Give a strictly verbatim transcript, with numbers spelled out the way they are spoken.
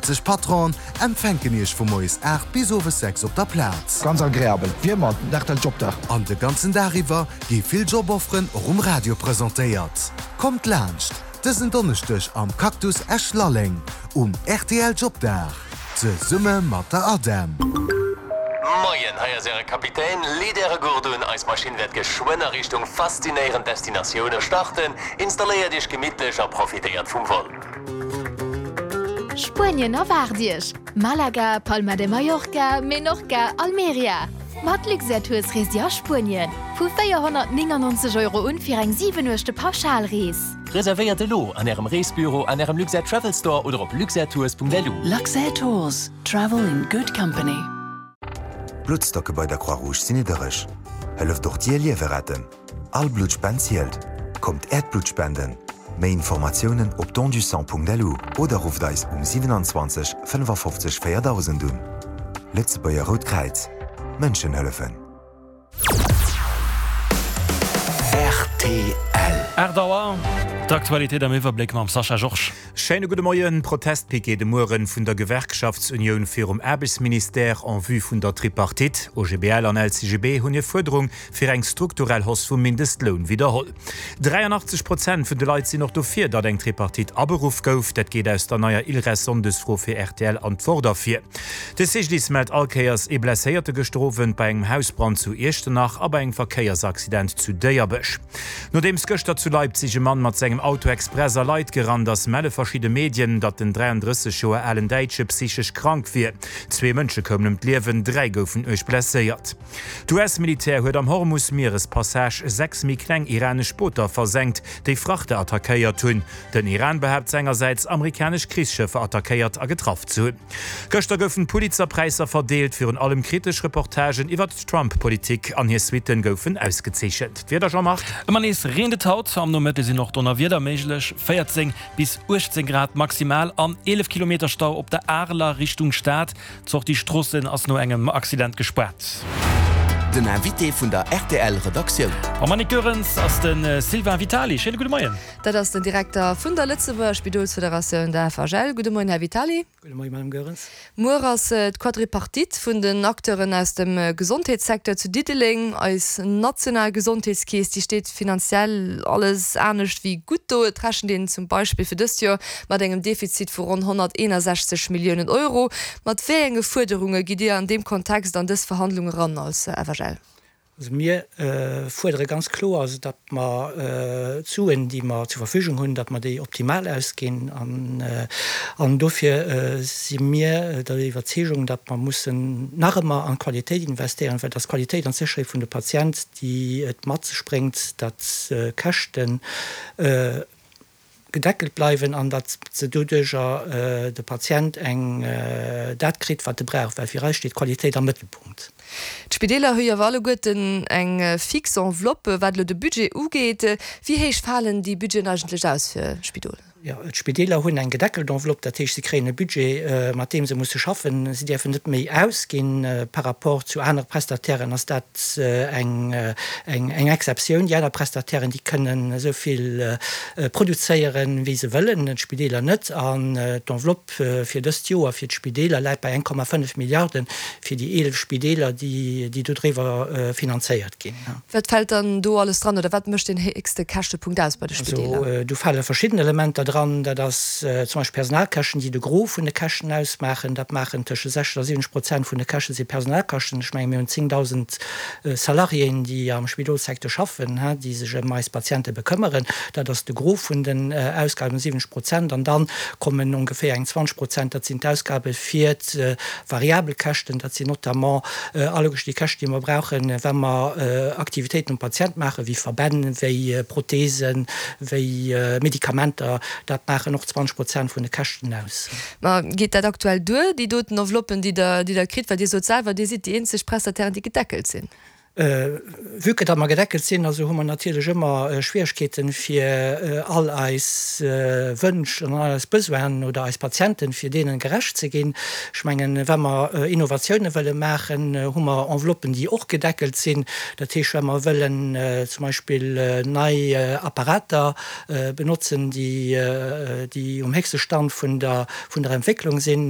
siwwenzeg Patronen empfänken iech vu moies aacht bis owes sechs op der Plaz. Ganz agreabel, wéi ëmmer den R T L Jobdag. An de ganzen Dag iwwer gi vill Jobofferen och um Radio presentéiert. Kommt laanscht dësen Donneschdeg am Cactus Esch-Lalleng um R T L Jobdag zesumme mat der ADEM. Moien, hei ass äre Kapitän. Leet äre Gurt un, eis Maschinn wäert geschwënn a Richtung faszinéierend Destinatioune starten. Installéiert iech gemittlech a profitéiert vum Vol. Spuenien erwaart iech! Malaga, Palma de Mallorca, Menorca, Almeria. Mat Luxair Tours reest Dir a Spuenien. Vu véierhonnertnéngannonzeg Euro un fir eng siwen Nuechte Pauschalrees. Reservéiert elo an ärem Reesbüro, an ärem Luxair Travel Store oder op luxairtours Punkt L U. Luxair Tours. Travel in good company. D'Bluttstocke bei der Croix-Rouge sinn niddereg. Hëlleft och dir Liewe retten. All Bluttspend zielt. Kommt äert Blutt spenden. Méi Informatiounen op dondusang Punkt L U oder rufft eis um siewenundzwanzeg fënnefafofzeg véierdausend un. Lëtzebuerger Rout Kräiz. Mënschen hëllefen. R T L. Aacht Auer, d'Aktualitéit am Iwwerbléck mam Sascha Georges. Schéine gudde Moien. Protestpiquet de Mueren vun der Gewerkschaftsunioun virum Aarbechtsministère en vue vun der Tripartite. O G B L an L C G B hunn hir Fuerderung fir eng strukturell Hausse vum Mindestloun widderholl. dräianachtzeg Prozent vun de Leit sinn och dofir, datt eng Tripartite aberuff gouf. Dat geet aus der neier ILReS-Sonndesfro fir R T L an d'Wort ervir. De C G D I S mellt all Kéiers ee Blesséierte gëschter Owend bei engem Hausbrand zu Iechternach a bei engem Verkéiersaccident zu Déierbech. Nodeems gëschter zu Leipzig e Mann mat sengem Auto express a Leit gerannt ass, melle verschidde Medien, datt den dräiandrësseg Joer alen Däitsche psychesch krank wier. Zwee Mënsche koumen ëm d'Liewen, dräi goufen uerg blesséiert. D'U S-Militär huet am Hormus-Mierespassage sechs méi kleng iranesch Booter versenkt, déi Frachter attackéiert hunn. Den Iran behaapt sengersäits, amerikanesch Krichsschëffer attackéiert a getraff ze hunn. Gëschter goufen d'Pulitzer-Präisser verdeelt, virun allem kritesch Reportagen iwwer d'Trump-Politik an hir Suitten goufen ausgezeechent. D'Wieder, Jean-Marc? Ëmmer nees reent et haut, am Nomëtte sinn och Donnerwieder méiglech. véierzéng bis uechtzéng Grad maximal an eelef Kilometer Stau op der Areler Richtung Stad. D'Sortie Stroossen ass no engem Accident gespaart. Den Invité vun der R T L Redaktioun. Mam Annick Goerens ass de Sylvain Vitali. Schéine gudde Moien. Dat ass den Direkter vun der Lëtzebuerger Spidolsfederatioun, der F H L. Gudde Moien, Här Vitali. Gudde Moien, Madame Goerens. Muer ass d'Quadripartite vun den Acteuren aus dem Gesondheetssecteur zu Diddeleng. Eis national Gesondheetskeess, déi steet finanziell alles anescht wéi gutt do. Et rechent een zum Beispill fir dëst Joer mat engem Defizit vu ronn honnerteenasechzeg Milliounen Euro. Mat wéi enge Fuerderunge gitt Dir an deem Kontext an dës Verhandlung eran als F H L? Also mir äh, fuerdere ganz kloer, also datt mer äh, d'Suen, déi mer zur Verfügung hunn, datt mer déi optimal ausginn an, äh, an dofir äh, si mir der Iwwerzeegung, datt mer mussen nach ëmmer an Qualitéit investéieren, well dat Qualitéit an Sécherheet vun de Patient, déi et mat sech bréngt, datt äh, Käschten äh, gedeckelt bleiwen an datt se doduercher äh, de Patient eng äh, dat kritt, wat e brauch, well fir eis steet Qualitéit am Mëttelpunkt. D'Spideeler hu jo alleguerten eng äh, fix Enveloppe, wat de Budget ugeet. Wéi héich falen déi Budgeten eigentlech aus fir Spidol? Ja, d'Spideeler hunn eng gedeckelt Enveloppe, dat heescht, si kréien e Budget, äh, mat deem se musse schaffen. Si däerfen net méi ausginn äh, par rapport zu anere Prestatairen ass dat äh, eng, äh, eng, eng Exceptioun. Déi aner Prestatairen, déi kënnen esou vill äh, produzéieren, wéi se wëllen, d'Spideeler net. An äh, d'Enveloppe äh, fir dëst Joer fir d'Spideeler läit bei eng Komma fënnef Milliarden fir déi eelef Spideeler, déi, déi dodriwwer äh, finanzéiert ginn. Ja. Wat fält dann do alles dran oder wat mécht den héchste Käschtepunkt aus bei de Spideeler? Also, äh, do fale verschidden Elementer dran, dat ass äh, zum Beispill Personalkäschten, déi de Gros vun de Käschten ausmaachen. Dat maachen tëscht sechzeg a siwwenzeg Prozent vun de Käschte si Personalkäschten. Ech menge mir hunn zéngdausend äh, Salariéen, déi am Spidolssecteur schaffen, he, déi sech ëm eis Patiente bekëmmeren. Dat ass de Gros vun den äh, Ausgaben siwwenzeg Prozent. An dann kommen ongeféier eng zwanzeg Prozent, dat sinn d'Ausgabe fir äh, variabel Käschten, dat sinn notamment äh, alleguer déi Käschten, déi mer brauchen, wa mer äh, Aktivitéiten um Patient maachen, wéi Verbänn, wéi äh, Prothesen, wéi äh, Medikamenter, dat maachen och zwanzeg Prozent vun de Käschten aus. Ma geet dat aktuell duer, déi doten Enveloppen, déi der, déi der kritt, well Dir sot selwer, Dir sidd déi eenzeg Prestatairen, déi gedeckelt sinn? Äh, vue que datt mer gedeckelt sinn, also hu mer natierlech ëmmer äh, Schwieregkeeten fir äh, all eis äh, Wënsch an all eis Besoinen oder eis Patienten fir deene gerecht ze ginn. Ech mengen, wa mer äh, Innovatioune wëlle maachen, äh, hu mer Enveloppen, déi och gedeckelt sinn. Dat heescht, wa mer wëllen äh, zum Beispill äh, nei äh, Apparater äh, benotzen, déi, äh, déi um héchste Stand vun der, vun der Entwécklung sinn,